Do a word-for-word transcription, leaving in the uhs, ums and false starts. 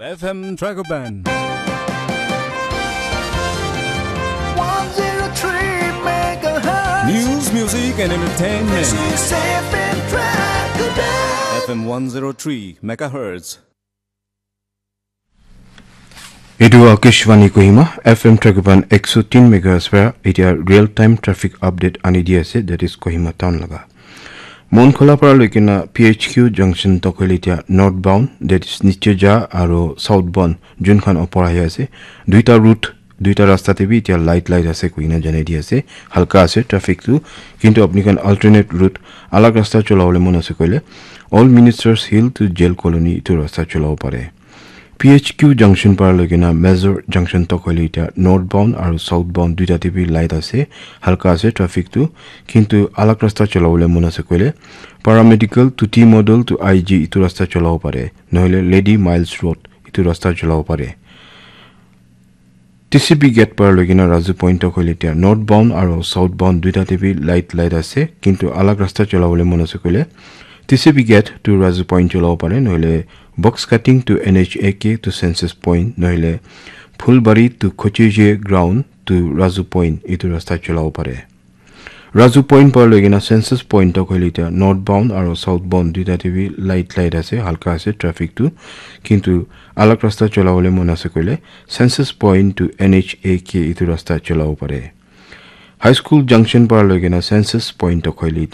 F M Dragoban. one zero three megahertz. News, music, and entertainment. This is F M Dragoban. F M one zero three megahertz. এইটো আকাশবাণী Kohima F M ট্ৰেকবান একশ তিন মেগাহাৰ্টছ পৰা এতিয়া real time traffic update আনি দি আছে, that is Kohima টাউন লগা। মনখলা পৰা লৈ কিনা পি এইচ কিউ জংচন তক হ'লে এতিয়া নৰ্থ বাউণ্ড, ডেট ইজ নিচেজা আৰু চাউথ বাউণ্ড যোনখন ওপৰ আহি আছে, দুইটা ৰুট, দুইটা ৰাস্তাতে বি এতিয়া লাইট লাইট আছে কৈ কিনা জনাই দি আছে। হালকা আছে ট্ৰেফিকটো, কিন্তু আপুনি এখন অল্টাৰনেট ৰুট, আলাগ ৰাস্তা চলাবলৈ মন আছে কৰিলে old ministers hill to jail colony এইটো ৰাস্তা চলাব পাৰে। পি এইচ কিউ জংচন পৰা লৈ কিনা মেজৰ জংচন তক হ'লে এতিয়া নৰ্থ বাউণ্ড আৰু চাউথ বাউণ্ড দুইটাতে বি লাইট আছে, হালকা আছে ট্ৰেফিকটো, কিন্তু আলাগ ৰাস্তা চলাবলৈ মন আছে কৰিলে paramedical to T model to I G এইটো ৰাস্তা চলাব পাৰে, নহ'লে লেডি মাইলছ ৰোড এইটো ৰাস্তা চলাব পাৰে। টি চি বি গেট পৰা লৈ কিনা ৰাজু পইণ্ট তক হ'লে এতিয়া নৰ্থ বাউণ্ড আৰু চাউথ বাউণ্ড দুইটাতে বি লাইট লাইট আছে, কিন্তু আলাগ ৰাস্তা চলাবলৈ মন আছে কৰিলে T C B gate to Raju point চলাব পাৰে, নহ'লে box cutting to N H A K to চেন্সাছ পইণ্ট, নহ'লে ফুলবাৰী টু খচিজে গ্ৰাউণ্ড টু ৰাজু পইণ্ট এইটো ৰাস্তা চলাব পাৰে। ৰাজু পইণ্ট পৰা লৈ কিনা চেন্সাছ পইণ্ট তক হ'লে এতিয়া নৰ্থ বাউণ্ড আৰু চাউথ বাউণ্ড দুইটাতে বি লাইট লাইট আছে, হালকা আছে ট্ৰেফিকটো, কিন্তু আলাগ ৰাস্তা চলাবলৈ মন আছে কৰিলে চেন্সাছ point to N H A K এইটো ৰাস্তা চলাব পাৰে। হাইস্কুল জংচন পৰা লৈ কিনা চেন্সাছ পইণ্ট তক হ'লে এতিয়া